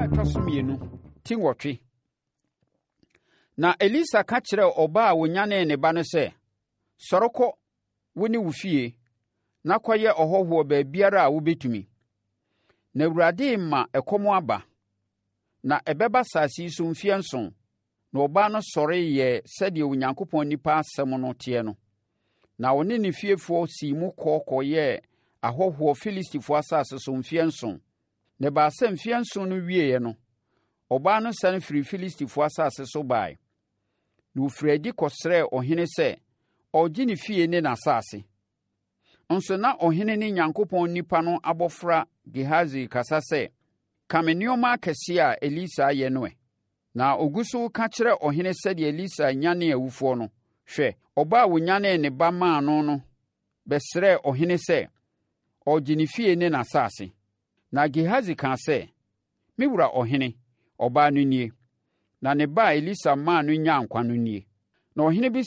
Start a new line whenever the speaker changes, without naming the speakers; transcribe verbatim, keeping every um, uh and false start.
ɛtɔ so mmienu, ti nwɔtwe. Na Elisa ka kyerɛɛ ɔbaa a ɔnyanee ne ba no sɛ, Sɔre kɔ, wo ne wo fie, na kɔyɛ ɔhɔhoɔ baabiara a wobɛtumi. Na Awurade rema ɛkɔm aba, na ɛbɛba asase yi so mfeɛ nson. Na ɔbaa no sɔre yɛɛ sɛdeɛ Onyankopɔn nipa asɛm no teɛ no. Na ɔne ne fiefoɔ sii mu kɔ kɔyɛɛ ahɔhoɔ Filistifoɔ asase so mfeɛ nson. Na ɛbaa sɛ mfeɛ nson no wieeɛ no, ɔbaa no sane firii Filistifoɔ asase so baeɛ. Na ɔfirii adi kɔsrɛɛ ɔhene sɛ ɔregye ne fie ne n'asase. Nso na ɔhene ne Nyankopɔn nipa no abɔfra Gehasi rekasa sɛ, “Ka me nneɛma akɛseɛ a Elisa ayɛ no ɛ!” Na ɔgu so reka kyerɛ ɔhene sɛdeɛ Elisa nyanee awufoɔ no, hwɛ, ɔbaa a ɔnyanee ne ba maa no no bɛsrɛɛ ɔhene sɛ ɔregye ne fie ne n'asase. Na Gehasi kaa sɛ, “Me wura ɔhene, ɔbaa no nie, na ne ba a Elisa maa no nyaa nkwa no nie.” Na ɔhene bisaa